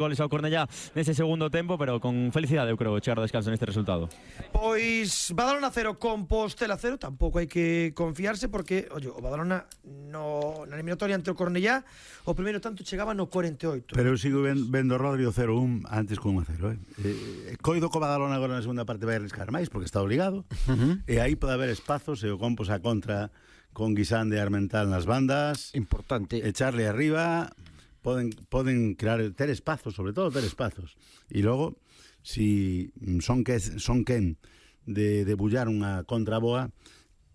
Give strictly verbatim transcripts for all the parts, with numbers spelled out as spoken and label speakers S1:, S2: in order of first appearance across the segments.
S1: goles ao Cornellá nese segundo tempo, pero con felicidade eu creo chegar ao descanso neste resultado.
S2: Pois Badalona cero, Compostela cero. Tampouco hai que confiarse porque, oye, o Badalona no, na eliminatoria ante o Cornellá o primeiro tanto chegaba no cuarenta e oito.
S3: Pero eu sigo ben, vendo Rodrigo cero un antes con un a cero, eh? eh Coido co Badalona agora na segunda parte vai arriscar máis porque está obligado, uh-huh. E aí pode haber espazos e o Compos a contra con Guisande e Armental nas bandas,
S4: importante
S3: echarle arriba. Poden, poden crear, ter espazos, sobre todo ter espazos. E logo, si son que son quen de, de bullar unha contra boa,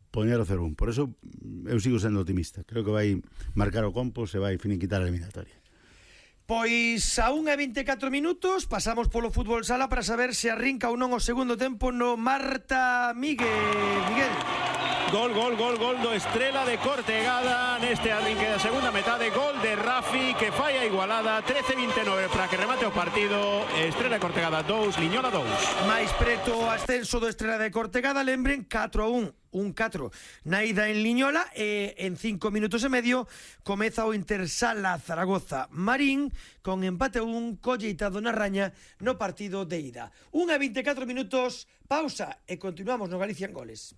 S3: poñer o cero un. Por eso eu sigo sendo optimista. Creo que vai marcar o Compos e vai finiquitar a eliminatoria.
S2: Pois a unha e vinte e catro minutos pasamos polo fútbol sala para saber se arrinca ou non o segundo tempo no Marta Miguel. Miguel.
S5: Gol, gol, gol, gol do Estrela de Cortegada neste arrinque da segunda metade. Gol de Rafi que fai a igualada. Trece vinte e nove para que remate o partido. Estrela de Cortegada dous, Liñola dous.
S2: Mais preto o ascenso do Estrela de Cortegada. Lembren, catro a un. Un catro na ida en Liñola e en cinco minutos e medio comeza o Intersala Zaragoza Marín con empate un colleitado na raña no partido de ida. Unha e vinte e catro minutos, pausa e continuamos no Galicia en Goles.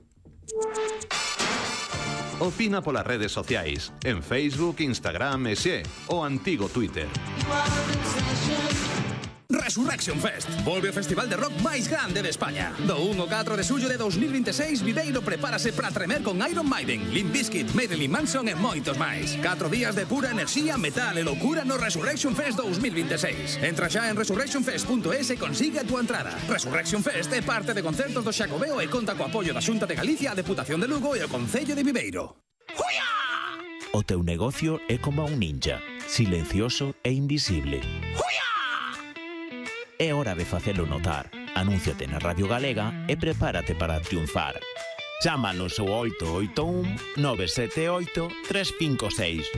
S6: Opina polas redes sociais, en Facebook, Instagram e xe, o antigo Twitter.
S7: Resurrection Fest volve o festival de rock máis grande de España. Do un ao catro de xullo de dos mil vinte e seis, Viveiro prepárase para tremer con Iron Maiden, Limp Bizkit, Marilyn Manson e moitos máis. Catro días de pura enerxía, metal e loucura no Resurrection Fest dos mil vinte e seis. Entra xa en resurrection fest punto es e consigue a túa entrada. Resurrection Fest é parte de concertos do Xacobeo e conta co apoio da Xunta de Galicia, a Deputación de Lugo e o Concello de Viveiro.
S8: ¡Huya! O teu negocio é como un ninja, silencioso e invisible. ¡Huya! É hora de facelo notar. Anúnciate na Radio Galega e prepárate para triunfar. Chámanos ao oito oito un, nove sete oito, tres cinco seis.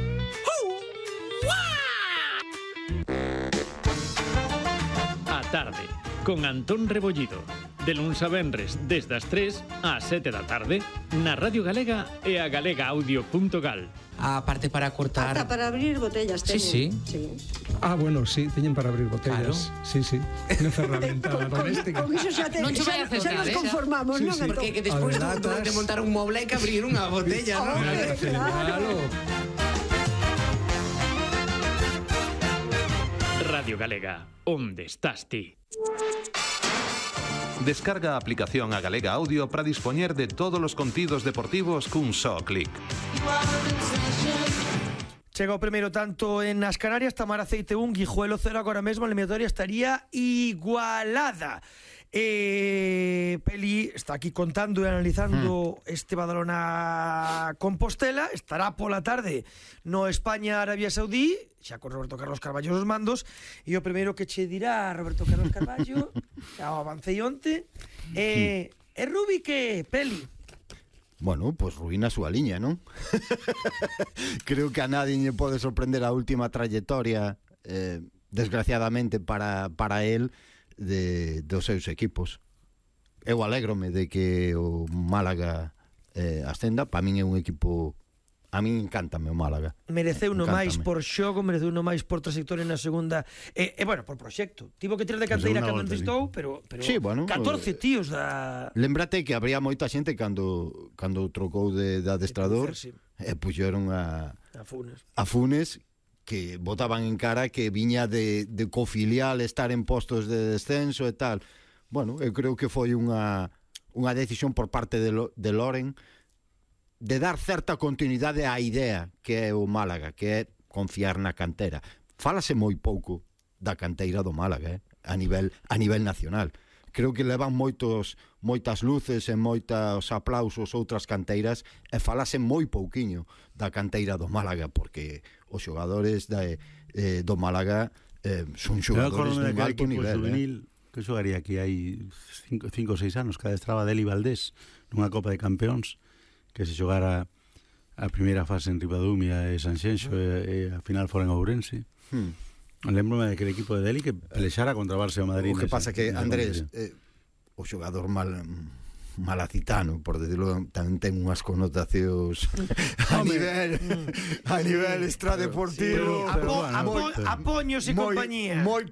S9: A tarde, con Antón Rebollido. De luns a venres, desde as tres ás sete da tarde, na Radio Galega e a galega audio punto gal.
S10: A parte para cortar...
S11: Ata para abrir botellas teñen.
S10: Sí, sí.
S11: sí.
S12: Ah, bueno, sí, teñen para abrir botellas.
S10: Claro.
S12: Sí, sí. Unha ferramenta doméstica.
S11: Con iso xa, te,
S10: non
S11: xa, xa nos conformamos, sí, non?
S10: Sí. Porque que despois de, de montar un moble hai que abrir unha botella, non?
S11: Oh, claro.
S9: Radio Galega, onde estás ti?
S6: Descarga a aplicación a Galega Audio para dispoñer de todos os contidos deportivos cun só clic.
S2: Chega o primeiro tanto en as Canarias, Tamar Aceite un, Guijuelo cero, agora mesmo a eliminatoria estaría igualada. Eh, Peli está aquí contando e analizando mm. este Badalona Compostela. Estará pola tarde no España-Arabia Saudí, xa con Roberto Carlos Carballo nos mandos. E o primeiro que che dirá Roberto Carlos Carballo, xa o avancei onte, eh, é Rubi que, Peli?
S4: Bueno, pois pues ruína a súa liña, non? Creo que a nadie lle pode sorprender a última trayectoria, eh, desgraciadamente para, para él, de dos seus equipos. Eu alégrome de que o Málaga eh, ascenda. Para min é un equipo, a min encántame o Málaga.
S2: Mereceu no
S4: encántame.
S2: máis por xogo, mereceu no máis por trayectoria na segunda e, e bueno, por proxecto. Tivo que tirar de canteira cando entistou, pero, pero
S4: sí, bueno,
S2: catorce tíos da...
S4: Lembrate que habría moita xente cando cando trocou de, de adestrador
S2: sí.
S4: E puxeron a
S2: a Funes.
S4: A Funes que botaban en cara que viña de, de cofilial estar en postos de descenso e tal. Bueno, eu creo que foi unha unha decisión por parte de, Lo, de Loren de dar certa continuidade á idea que é o Málaga, que é confiar na cantera. Fálase moi pouco da canteira do Málaga, eh? a nivel a nivel nacional. Creo que levan moitos moitas luces e moitos aplausos outras canteiras e falase moi pouquiño da canteira do Málaga, porque os xogadores de, eh, do Málaga eh, son xogadores de un alto nivel.
S3: Juvenil,
S4: eh?
S3: que xogaría aquí hai cinco ou seis anos, cada estraba Deli Valdés nunha Copa de Campeóns, que se xogara a primeira fase en Ribadumia e Sanxenxo e, e a final fora en Ourense. Hmm. Lembro-me daquele equipo de Deli que pelexara contra o Barça e o Madrid.
S4: O que pasa que, Andrés, eh, o xogador mal malacitano, por decirlo, tamén ten unhas connotacións a nivel a nivel extradeportivo,
S2: sí, Apo, bueno, Apo, Apoños e compañía
S4: moi